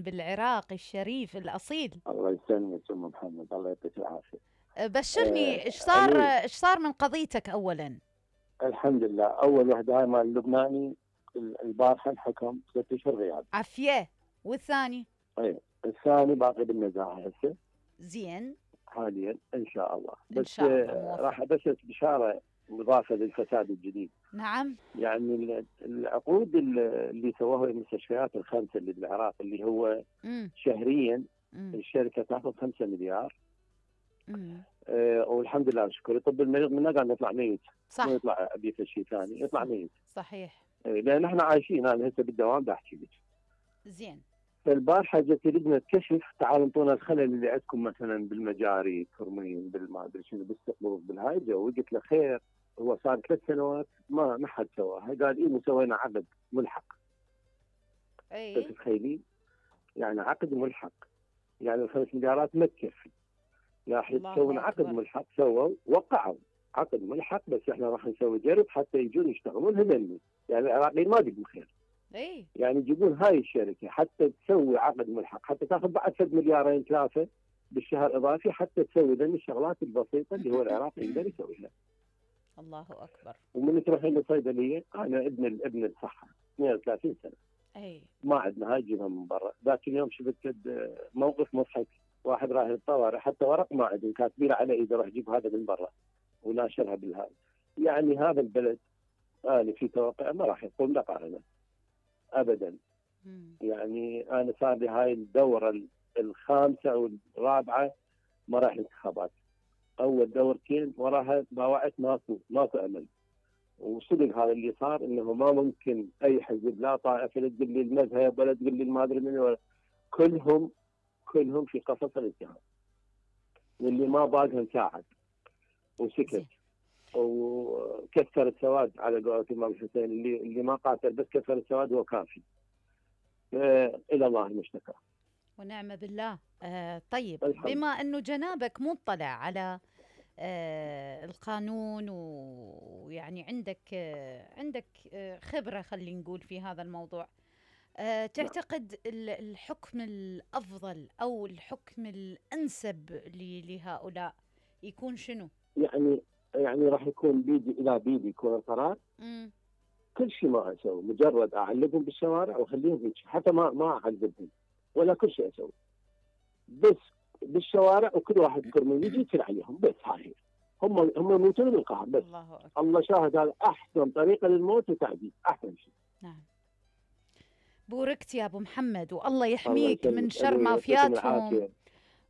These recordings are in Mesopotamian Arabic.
بالعراق الشريف الأصيل. الله يسلمك ام محمد، الله يعطيك العافيه. بشرني، ايش صار من قضيتك اولا؟ الحمد لله. اول وحده هاي مال اللبناني البارحه الحكم 6 اشهر غياب. عافيه. والثاني؟ اي الثاني باقي بالنزاهه هسه. زين. حاليا ان شاء الله. بس إن شاء الله راح ابشر بشاره مضافه للفساد الجديد. نعم. يعني العقود اللي سووها المستشفيات الخمسه اللي بالعراق، اللي هو شهريا الشركه تاخذ 5 مليار. والحمد لله شكرا. طب المريض منا قاعد يطلع ميت، صح، ما يطلع بيت شيء ثاني، يطلع ميت. صحيح. لان احنا عايشين، انا هسه بالدوام بحكي لك. زين. فالبارحه جت لجنه كشف، تعالوا انطونا الخلل اللي عندكم مثلا بالمجاري، ترمين، بالما ادري شنو، بالسقوف، بالهاي جو. قلت له خير، هو صار 3 سنوات ما حد سواها. قال ايه سوينا عقد ملحق. اي تتخيلين؟ يعني عقد ملحق، يعني ال5 مليارات ما تكفي. راح يسوون عقد ملحق، سووا وقعوا عقد ملحق، بس احنا راح نسوي جرب حتى يجون يشتغلون هذني. يعني العراقيين ما بيقوا خير. اي يعني يجيبون هاي الشركه حتى تسوي عقد ملحق، حتى تاخذ بعد 3 مليارين 3 بالشهر اضافي، حتى تسوي ذني الشغلات البسيطه اللي هو العراق يقدر يسويها. الله اكبر. ومن تروحين للصيدليه، انا ابن الصحه 32 سنه. اي ما عندنا هاي، جيبها من برا. ذاك اليوم شفت موقف مضحك، واحد راح للطوارئ حتى ورق ما عندهم، كاتبين على ايده روح جيب هذا من برا وناشرها بالهاي. يعني هذا البلد في توقع ما راح يقوم بقارنه ابدا. يعني انا صار لي هاي الدوره الخامسه او الرابعه مراحل انتخابات. اول دورتين وراها باوعت ماكو امل. وصدق هذا اللي صار، انه ما ممكن اي حزب لا طائفه لا تقول لي المذهب ولا تقول لي ما ادري من، كلهم في قفص الاتهام. واللي ما باقها ساعد وسكت وكسر السواد على قولة الإمام الحسين. اللي ما قاتل بس كسر السواد هو كافي. إلى الله المشتكى ونعم بالله. طيب، بما أنه جنابك مطلع على القانون، ويعني عندك خبرة خلينا نقول في هذا الموضوع، تعتقد الحكم الأفضل أو الحكم الأنسب لهؤلاء يكون شنو؟ يعني راح يكون بيدي إلى بيدي يكون القرار. كل شيء ما أسوي، مجرد أعلقهم بالشوارع وأخليهم يمشي، حتى ما أعذبهم ولا كل شيء أسوي، بس بالشوارع وكل واحد كرمين يجي يتل عليهم، بس هاي هم يموتون بالقهر. بس الله شاهد، هذا أحسن طريقة للموت وتعذيب، أحسن شيء. نعم. بوركت يا أبو محمد، والله يحميك من شر مافياتهم.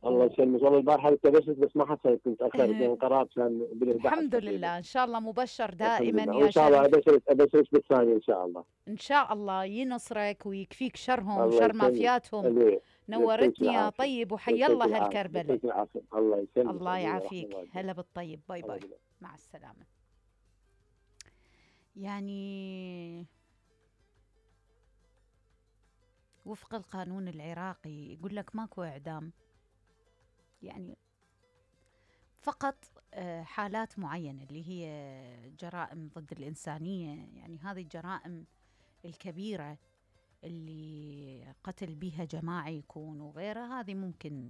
الله يسلمك. والله البارحة ابتبشت بس ما حسيت، كنت أخر بين قرار كان الحمد لله. إن شاء الله مبشر دائما يا شريف. إن شاء الله أبشرك بالثاني إن شاء الله. إن شاء الله ينصرك ويكفيك شرهم وشر مافياتهم. نورتني يا طيب، وحي الله هالكربلة. الله يسلمك. الله يعافيك. هلا بالطيب. باي باي. مع السلامة. يعني وفق القانون العراقي يقول لك ماكو إعدام، يعني فقط حالات معينة اللي هي جرائم ضد الإنسانية. يعني هذه الجرائم الكبيرة اللي قتل بها جماعي يكون وغيرها، هذه ممكن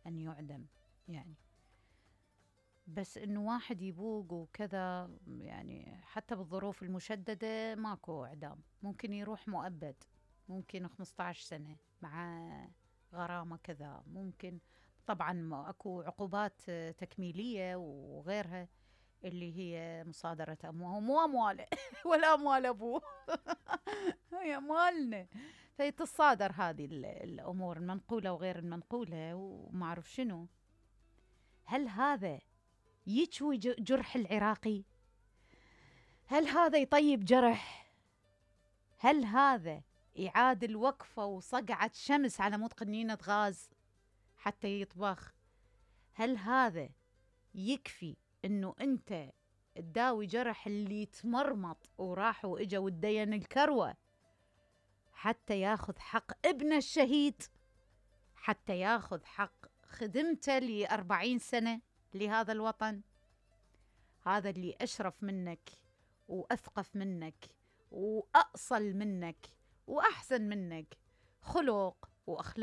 أن يعدم يعني. بس إنه واحد يبوق وكذا، يعني حتى بالظروف المشددة ماكو إعدام، ممكن يروح مؤبد، ممكن 15 سنة مع غرامة كذا، ممكن طبعا اكو عقوبات تكميلية وغيرها اللي هي مصادرة أموال، مو أمواله ولا أموال أبوه هي أموالنا، فيتصادر هذه الأمور المنقولة وغير المنقولة وما أعرف شنو. هل هذا يشوي جرح العراقي؟ هل هذا يطيب جرح؟ هل هذا يعاد الوقفة وصقعة شمس على مود قنينة غاز حتى يطبخ؟ هل هذا يكفي انه انت تداوي جرح اللي يتمرمط وراح واجا والدين الكروة حتى ياخذ حق ابن الشهيد، حتى ياخذ حق خدمته ل40 سنة لهذا الوطن؟ هذا اللي أشرف منك وأثقف منك وأأصل منك وأحسن منك خلق وأخلاق